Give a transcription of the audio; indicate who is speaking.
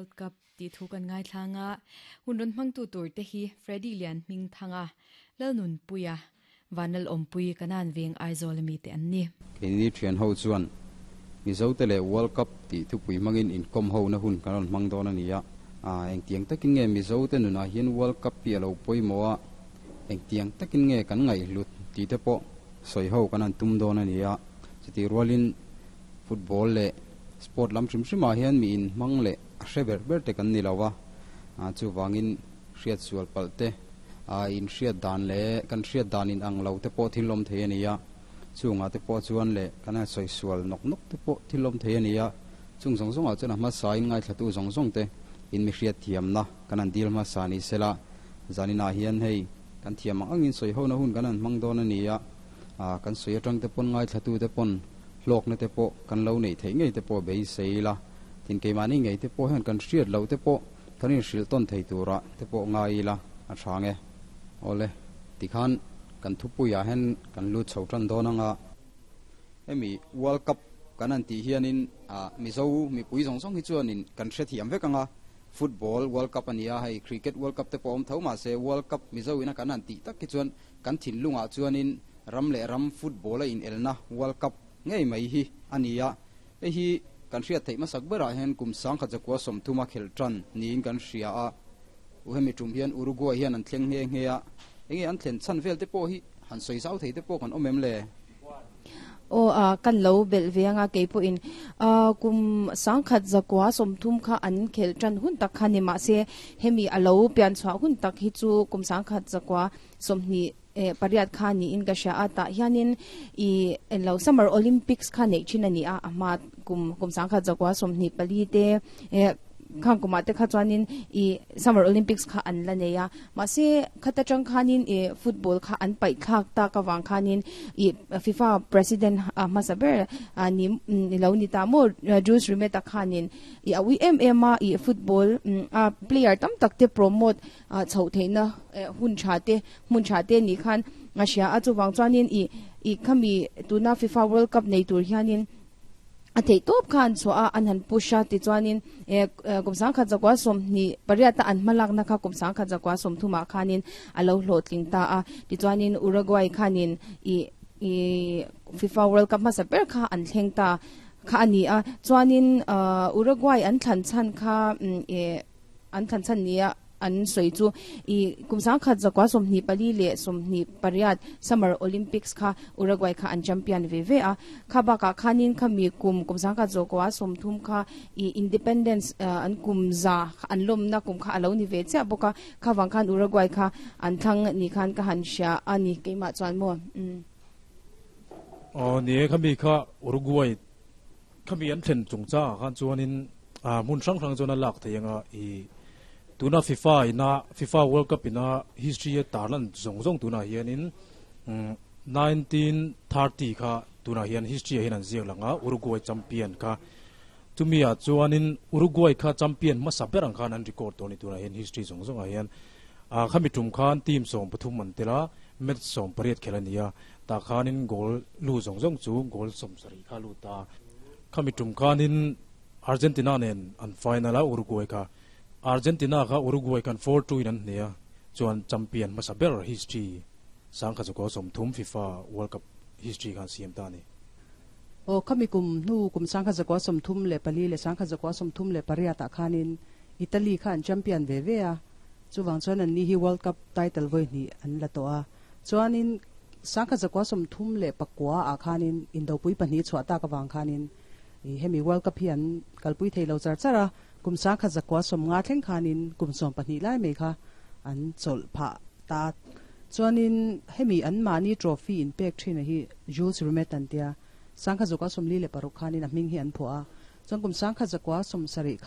Speaker 1: World Cup tih thu kan ngaithlang a, hun rawn hmangtu tur te hi Freddy Lianhmingthanga, Lalnunpuia, Vanlalawmpui, Kanan Veng Aizawl ami te an ni.
Speaker 2: Keini thian ho chuan Mizote leh World Cup tih thupui hmangin inkawm ho na hun kan rawn hmang dawn a ni a. Engtiang takin nge Mizote nunah hian World Cup hi a lo pawimawh a, engtiang takin nge kan ngaihhlut tih te pawh sawi ho kan han tum dawn a ni a. Chutih rualin football leh sport lam hrim hrimah hian mi inhmang leh a hre ber ber te kan ni lo a, chuvangin hriat sual palh te, inhriat dan leh kan hriat dan in ang lo te pawh thil awm thei a ni a, chungah te pawh chuan leh kan han sawi sual nawk nawk te pawh thil awm thei a ni a, chung zawng zawngah chuan a hmasa in ngaithlatu zawng zawng te in mi hriat thiamna kan han dil hmasa ni sela, zaninah hian hei kan thiam ang angin sawi hona hun kan han hmang dawn a ni a, kan sawi atang te pawn ngaithlatu te pawn hlawkna te pawh kan lo neih theih ngei te pawh beisei ila, tin keimahni ngei te pawh hian kan hriat loh te pawh kan inhrilh tawn thei turah te pawh ngai ila a hrang e. Awle, tikhan kan thupuiah hian kan lut chho tan dawn anga hemi World Cup kan han tih hianin Mizo mipui zawng zawng hi chuanin kan hrethiam vek anga Football World Cup a ni a, hei Cricket World Cup te pawh a awm tho mahse World Cup Mizo ina kan han tih tak hi chuan kan thinlungah chuanin ram leh ram football a inelna World Cup ngei mai hi a ni a. Hei hi kan hriat theih hmasak berah hian kum sangkhat zakua sawmthuma khelh tan niin kan hria a. U hemi tum hian Uruguay hian an thleng nghe nghe a, enge an thlen chhan vel te pawh hi han sawi zau thei te pawh kan awm em le?
Speaker 3: Aw a, kan lo belh ve anga kei pawhin kum sangkhat zakua sawmthum kha an khelh tan hun tak kha ni mahse hemi a lo pian chhuah hun tak hi chu kum sangkhat zakua sawmhnih pariat kha niin ka hria a, tah hianin i lo Summer Olympics kha neih thin a ni a, a hma kum kum sangkhat zakua 24 te khang kumah te kha chuanin i Summer Olympics kha an la nei a, mahse khata tang khanin i football kha an paih thlak tak avang khanin i FIFA President hmasa ber ni ni lo ni ta maw Jules Rimet-a khanin i a ui em em a, i football a player tam tak te promote chhoh theihna hun tha te hmun tha te nih khan a hria a, chuvang chuanin ih ih khami tuna FIFA World Cup nei tur hianin a theih tawp kha an chhuah a, an han push a tichuanin eh kum sangkhat zakua 28 a an hma lakna kha kum sangkhat zakua 30 ah khanin a lo hlawhtling ta a, tichuanin Uruguay khanin ih ih FIFA World Cup hmasa ber kha an thleng ta kha a ni a, chuanin Uruguay an thlan chhan kha eh An thlan chhan nia an sawi chu i kum sangkhat zakua 24 leh 28 Summer Olympics kha Uruguay kha an champion ve ve a. Kha bakah khanin khami kum kum sangkhat zakua 30 kha i Independence an kum za an lawmna kum kha a lo ni ve chiah bawk a. Kha vang khan Uruguay kha an thlang ni khan ka han hria a ni keimah chuan maw. Umm.
Speaker 4: Aw ni e khami kha Uruguay Khami an thlen chungchangah khan chuanin hmun hrang hrang chuan a lak thei anga i tuna FIFA ina FIFA World Cup ina history a tarlan zawng zawng tunah hianin 1930 kha tunah hian history ah hian an ziak lang a Uruguay champion kha chumi ah chuanin Uruguay kha champion hmasa ber ang khan an record tawh a ni tunah hian history zawng zawngah hian khami tum khan team 13 an tel a match 18 khelh a ni a. Tah khanin goal lu zawng zawng chu goal 70 kha a lut a. Khami tum khanin Argentina nen an final a, Uruguay kha. Argentina kha Uruguay khan 4-2 in an hneh a, chuan champion hmasa ber history 1930 FIFA World Cup history khan siam ta a ni.
Speaker 5: Aw, khami kum hnu kum 1934 leh 1938 ah khanin Italy kha an champion ve ve a, chuvang chuan anni hi World Cup title vawi hnih an la tawh a. Chuanin 1934 ah khanin indopui pahnih chhuah tak avang khanin i hemi World Cup hi an kalpui thei lo char char a, kum 1950 thleng khanin kum 12 lai mai kha an chawlh phah ta. Chuanin hemi anmahni trophy inpek thin a hi Jules Rimet an tia, 1946 khanin a hming hi an phuah a, chuan kum 1970 khan.